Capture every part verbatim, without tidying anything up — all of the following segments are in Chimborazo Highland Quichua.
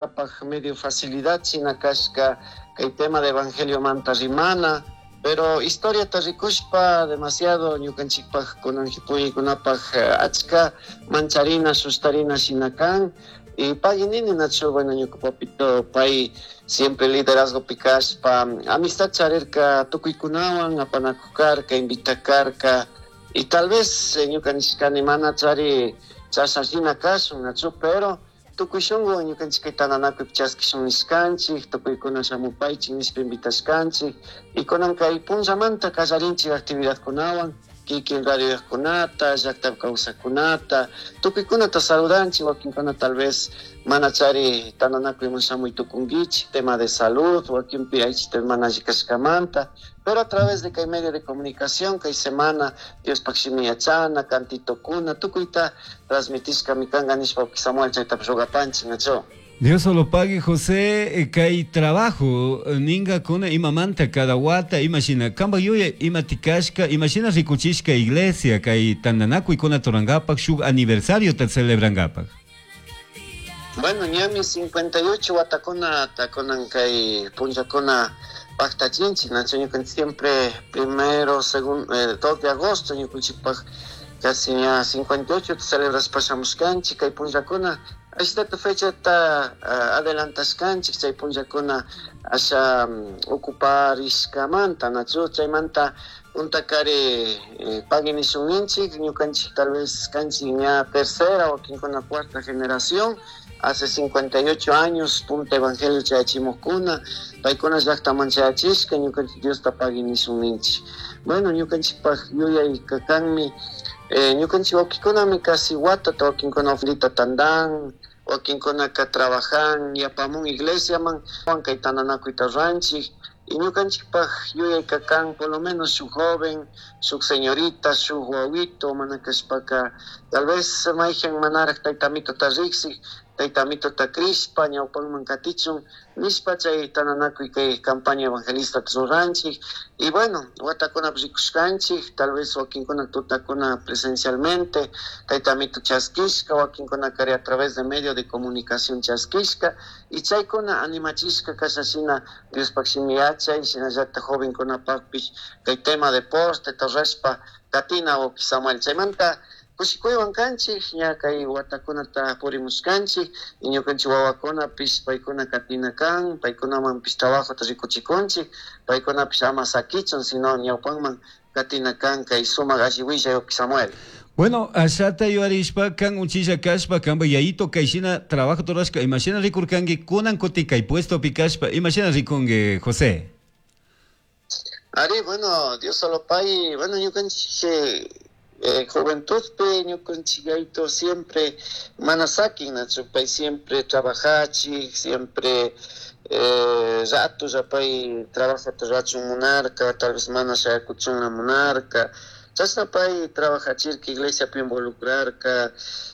Paj medio facilidad shina kashka kay tema de evangelio manta rimana, pero historia rikushpa demasiado ñukanchikpaj kunan puykunapaj achka mancharina sustarina shina kan. Y pagui nini nachu, bueno, ñuka papito pay siempre liderazgo pikashpa amistad charirka tukuykunawan apanakukarka invitakarka y tal vez ñuka nishkani mana chari chashna shina kashun nachu, pero tukuy shunku ñukanchik kay tantanakuypi chaskishun nishkanchik, tukuykuna shamupaychik nishpa invitashkanchik y kunan kay punllamanta kallarinchik actividadkunawan kikin radiokunata, llakta kawsakkunata, tukuykunata saludanchik, wakinkuna tal vez mana chari tantanakuyman shamuy tukunkichik, tema de salud, wakinpi aychita mana alli kashkamanta, pero a través de kay medio de comunicación, kay semana Diospaj shimi yachana, cantitokuna, tukuyta transmitishkami kanka nishpa Samuel chaytapish rugapanchik, nachu. Dios solo pague, José, kay trabajo ningakuna imamanta cada wata imashina kamba yuya ima tikashka imashina rikuchishka iglesia kay tantanakuykuna turankapak shuk aniversario ta celebrankapak. Bueno, ñami cincuenta y ocho watakuna takunan kay punllakuna paktachinchik, nachu ñukanchik siempre primero, segundo, eh, dos de agosto ñukanchikpak casi ña cincuenta y ocho celebrashpa shamushkanchik kay punllakuna. Ashtata fechata, uh, adelantashkanchik chay punllakuna asha, um, ocuparishkamanta, nachu chaymanta puntakari, eh, pagui nishunninchik ñukanchik tal vez kanchik ña tercera o quincuna cuarta generación hace cincuenta y ocho años punta evangelio chayachimukuna paykuna llaktaman chayachishka ñukanchik Diosta pagui nishunninchik. Bueno, ñukanchikpaj yuyay kakanmi, eh, ñukanchik wakikunami casi watata wakinkuna ofrendita tandan, wakinkunaka trabajan yapamun iglesiaman kay tantanakuyta ruranchik y ñukanchikpaj yuyay kakan por lo menos shuk joven, shuk señorita, shuk wawito mana kashpaka tal vez mayjan manaraj tayta amitota riksik, tayta amitota crishpa ñawpanman katichun nishpa chay tantanakuy kay campaña evangelista ruranchik y bueno, watakunapi rikushkanchik tal vez wakinkuna tutakuna presencialmente tayta amito chaskishka wakinkuna kari a través de medio de comunicación chaskishka y chaykuna animachishka kasha shina Diospaj shimi yachay shinallata jovenkunapakpish kay tema deporte torrashpa katina wawki Samuel chaymanta kushikuywan kanchik ña kay watakunata purimushkanchik y ñukanchik wawakunapish paykuna katina kan paykunamanpish trabajota rikuchikunchik paykunapish ama sakichun sino ñawpanman katina kan kay sumak alli willay wawki Samuel. Bueno, ashata yuarishpa kan uchilla kashpa kanpa yayito kayshina trabajo rurashka imashina rikurkanki kunan kutin kay puestopi kashpa imashina rikunki José. Ari, bueno, Dios solo pay, bueno, ñukanchik, eh, juventudpi ñukanchik yayito siempre mana sakin, nachu pay siempre trabajachik, siempre, eh, rato ya pay trabajata rachun munarka, tal vez mana shayakuchunla munarka, chashna pay trabajachirka iglesiapi involucrarka,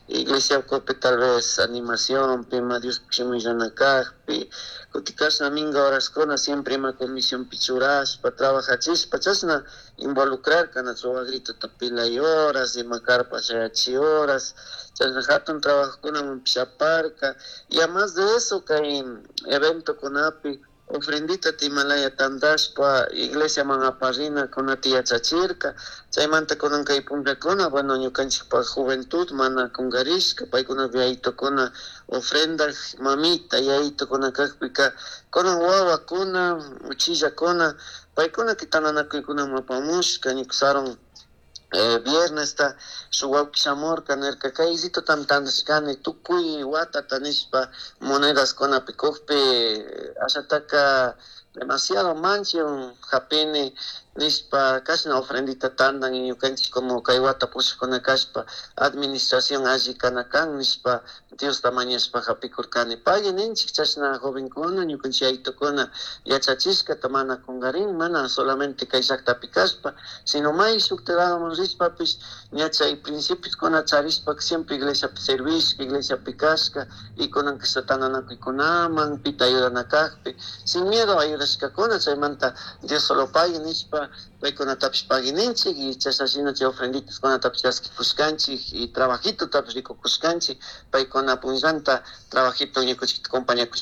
iglesia ucupi tal vez animación, pima Dios shimillana kajpi, kutikashna minga horaskuna siempre ima comisión pichurashpa, trabajachishpa, chashna involucrarka, nachu wagrito tapilay horas, ima carpa shayachi horas, chashna hatun trabajokunaman pishaparka, y además de eso kay evento kunapi ofrendita timalaya tandashpa iglesia man aparina kunata yachachirka, chaymanta kunan kay punllakuna, bueno, ñukanchikpa juventud mana kungarishka, paykuna yayitokuna ofrenda mamita yayitokuna kakpika kunan wawakuna uchillakuna paykuna kitananakuykunaman apamushka ñuka eh, viernes ta shuk wawki shamurka nirka kay ritutam tandashkani tukuy watata nishpa monedas kunapi kukpi ashataka demasiado manchion japini nishpa kashna ofrendita tandan y ñukanchik como kay wata pushakuna kashpa administración alli kana kan nishpa Diosta mañashpa japikurkani pagui ninchik chashna jovenkuna ñukanchik yaytukuna yachachishkata mana kungarin mana solamente kay llaktapi kashpa sino may shuktiladoman rishpapish ña chay principioskuna charishpa siempre iglesiapi servishka iglesiapi kashka y kunan kashta tantanakuykunaman pita ayudana kakpi sin miedo ayudashkakuna chaymanta Dios solo pagui nishpa rikushpa paykunatapish paguininchik y chashna shina chay ofrenditaskunatapish chaskikushkanchik y trabajitotapish rikukushkanchik paykuna punllanta trabajito ñukanchikta compañakushpa.